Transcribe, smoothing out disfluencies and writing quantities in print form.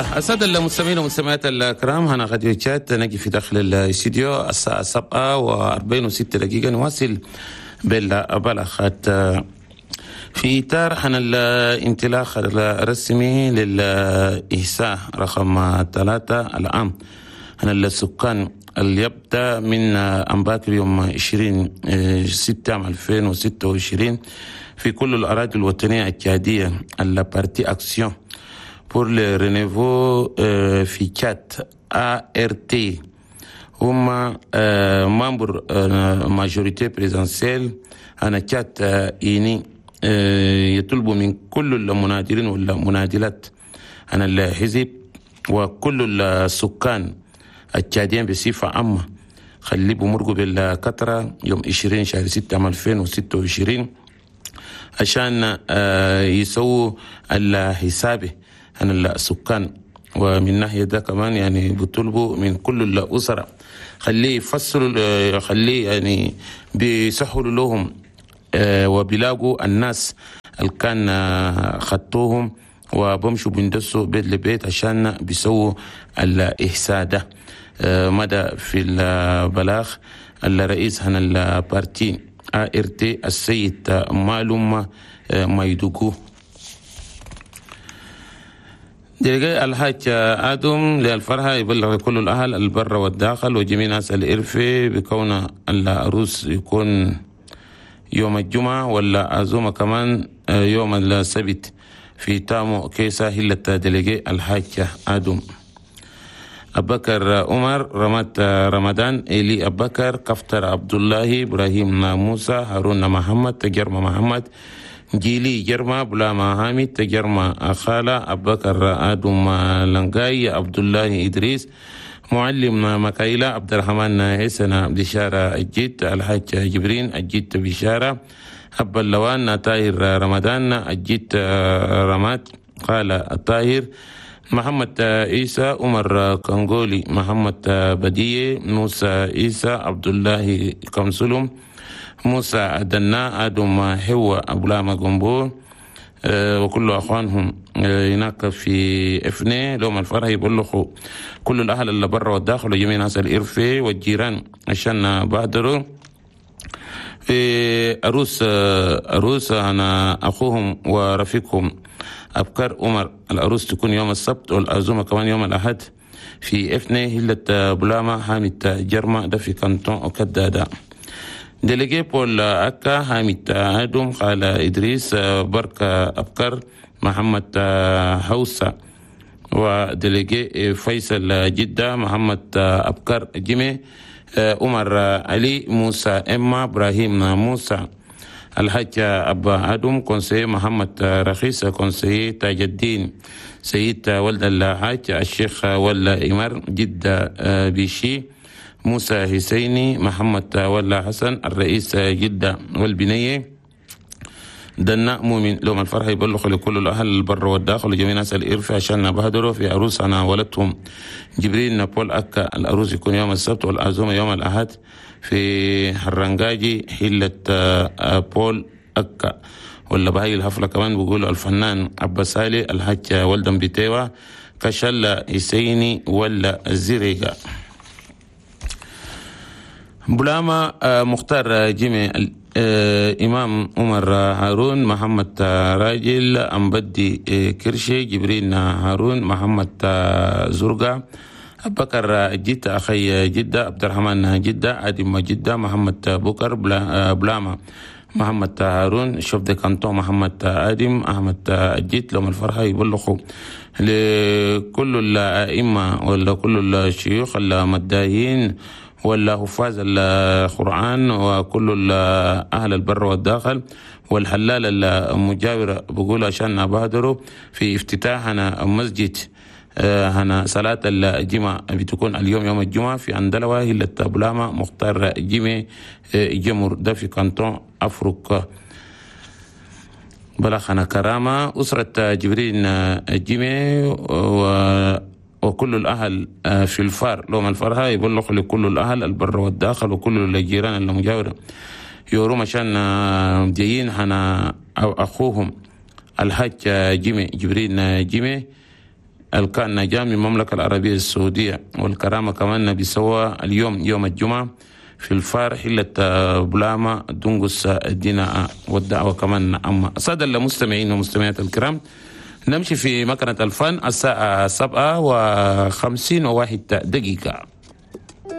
يلا السادة المستمعين والمستمعات الكرام، هنا راديو تشاد، نجي في داخل الاستديو الساعة 7:46، نواصل بالبلاغات في إطار عن الانطلاق الرسمي للإحصاء رقم 3 العام عن السكان اللي يبدأ من أمباكر يوم 20/6/2026 في كل الأراضي الوطنية التشادية. ال parti Action pour le renouveau في تشاد ART هما membre majorité présidentielle أنا تشاد unie يطلبوا من كل المناضلين والمناضلات عن الحزب وكل السكان التشاديين بصفة عامة خلي بمرقوا بالكثرة يوم 20/6/2026 عشان يسووا الحساب عن السكان. ومن ناحية ده كمان يعني بيطلبوا من كل الأسرة خليه يفصلوا، خليه يعني بيسهلوا لهم وبيلاقوا الناس اللي كان خطوهم وبمشوا بندسوا بيت لبيت عشان بيسووا الإحصاء ده. مدى في البلاغ الرئيس هنا ال parti ART السيد معلوم مايدوكو. délégué الحاج آدم للفرحة يبلغ كل الأهل البر والداخل وجميع ناس الإرفي بكون العروس يكون يوم الجمعة ولا عزومة كمان يوم السبت في تامو كيسا هلة délégué الحاج آدم. أبكر عمر رمات رمضان إلي أبكر كفتر عبد الله إبراهيم موسى هارون محمد تجرم محمد جيلي جرما بلاما حامد تجرما خالة أبكر آدم لنقاي عبد الله إدريس معلم مكايلة عبد الرحمن حسن بشارة الجيت الحاج جبرين الجيت بشارة أبا اللوان طاهر رمضان الجيت رمات قال الطاهر محمد عيسى عمر كنغولي محمد بدية موسى عيسى عبد الله كمسلم موسى دنا آدم حوا أبلاما جنبو وكل أخوانهم هناك في إفني لهم الفرح يبلغوا كل الأهل اللي برا والداخل وجميع ناس الإرفي والجيران عشان بادروا في أروس أنا أخوهم ورفيقهم أبكر عمر. الأروس تكون يوم السبت والعزومة كمان يوم الأحد في إفني هلة بلاما حامد جرما ده في كانتون وكدادا. délégué بول أكا حامد آدم قال إدريس بركة أبكر محمد حوسة و délégué فيصل جدة محمد أبكر جيمي عمر علي موسى إما إبراهيم موسى الحاج أبا آدم conseiller محمد رخيص conseiller تاج الدين سيد ولد الحاج الشيخ ولا إمر جدة بيشي موسى حسيني محمد ولا حسن الرئيس جدة والبنية دنا مؤمن لهم الفرح يبلغ لكل الأهل البر والداخل وجميع ناس الإرفع عشان بهدروا في عروس أنا ولدتهم جبريل نابول أكا. العروس يكون يوم السبت والعزومة يوم الأحد في حرنجاجي حلة بول أكا. ولا بهاي الحفلة كمان بيقولوا الفنان عباس سالي الحاج ولدن بيتيوا كشلة حسيني ولا الزريقة. بلاما مختار جيمي إمام عمر هارون محمد راجل أمبدي كرشي جبرين هارون محمد زرقا أبكر جدة أخي جدة عبد الرحمن جدة آدم جدة محمد بكر بلاما محمد هارون chef de canton محمد آدم أحمد الجيت لهم الفرحة يبلغوا لكل الأئمة ولا كل الشيوخ المداهين ولا حفاظ القرآن وكل أهل البر والداخل والحلال المجاورة بقول عشان بادروا في افتتاحنا مسجد هنا صلاة الجمعة بتكون اليوم يوم الجمعة في أندلوة هلة بلاما مختار جيمي جمر ده في كانتون أفريقيا. بلغنا كرامة أسرة جبرين جيمي وكل الأهل في الفار لهم الفرحة يبلغ لكل الأهل البر والداخل وكل الجيران المجاورة يورو عشان جايين هنا أخوهم الحاج جيمي جبرين جيمي الكان نجا من المملكة العربية السعودية. والكرامة كمان بيسوى اليوم يوم الجمعة في الفار حلة بلاما دنقس الدينا، والدعوة كمان أما. السادة المستمعين والمستمعات الكرام، نمشي في مكنة الفن، الساعة 7:51.